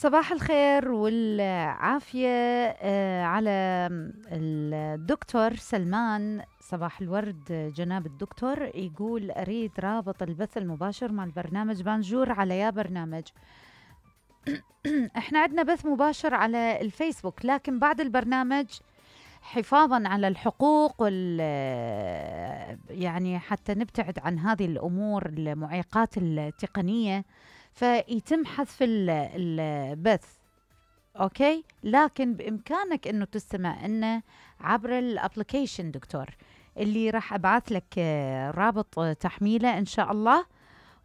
صباح الخير والعافية على الدكتور سلمان. صباح الورد جناب الدكتور. يقول أريد رابط البث المباشر مع البرنامج بانجور على يا برنامج. احنا عندنا بث مباشر على الفيسبوك، لكن بعد البرنامج حفاظا على الحقوق يعني حتى نبتعد عن هذه الأمور المعيقات التقنية، فيتم حذف البث. اوكي، لكن بامكانك انه تستمع لنا عبر الابلكيشن دكتور، اللي راح ابعث لك رابط تحميله ان شاء الله،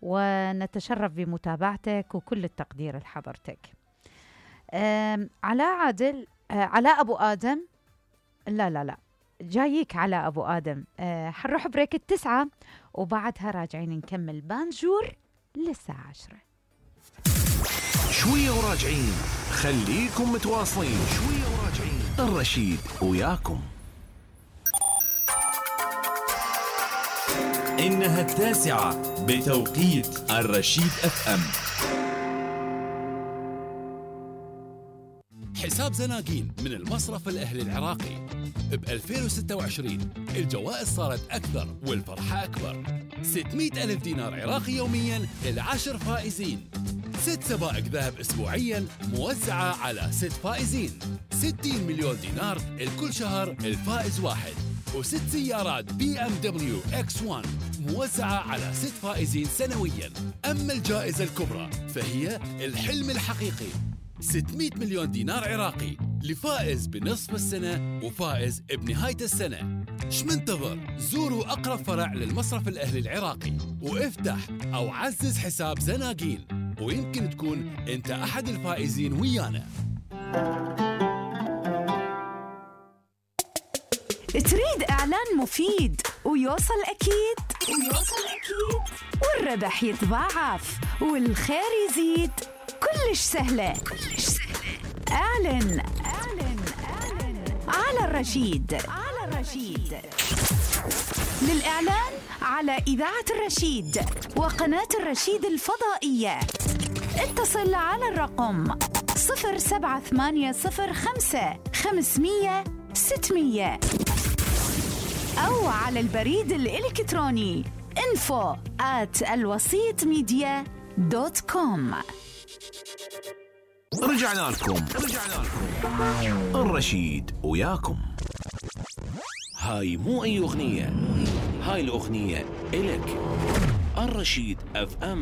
ونتشرف بمتابعتك وكل التقدير لحضرتك. علاء عادل، علاء ابو ادم، لا جايك علاء ابو ادم. حنروح بريك 9 وبعدها راجعين نكمل بانجور للساعة 10. شوية وراجعين، خليكم متواصلين. شوية وراجعين، الرشيد وياكم. إنها 9 بتوقيت الرشيد FM. حساب زناقين من المصرف الأهلي العراقي. ب 2026 الجوائز صارت أكثر والفرحة أكبر. 600 ألف دينار عراقي يومياً ل10 فائزين. 6 سبائك ذهب أسبوعياً موزعة على 6 فائزين. 60 مليون دينار الكل شهر الفائز واحد. و6 سيارات BMW X1 موزعة على 6 فائزين سنوياً. أما الجائزة الكبرى فهي الحلم الحقيقي، 600 مليون دينار عراقي لفائز بنصف السنة وفائز بنهاية السنة. شمنتظر؟ زوروا أقرب فرع للمصرف الأهلي العراقي وافتح أو عزز حساب زناقين، ويمكن تكون أنت أحد الفائزين ويانا. تريد إعلان مفيد ويوصل أكيد والربح يتضاعف والخير يزيد؟ كلش سهلة. اعلن على الرشيد. للإعلان على إذاعة الرشيد وقناة الرشيد الفضائية اتصل على الرقم 07805 500 600 أو على البريد الإلكتروني info@alwasitmedia.com. رجعنا لكم الرشيد وياكم. هاي مو أي أغنية، هاي الأغنية إلك. الرشيد FM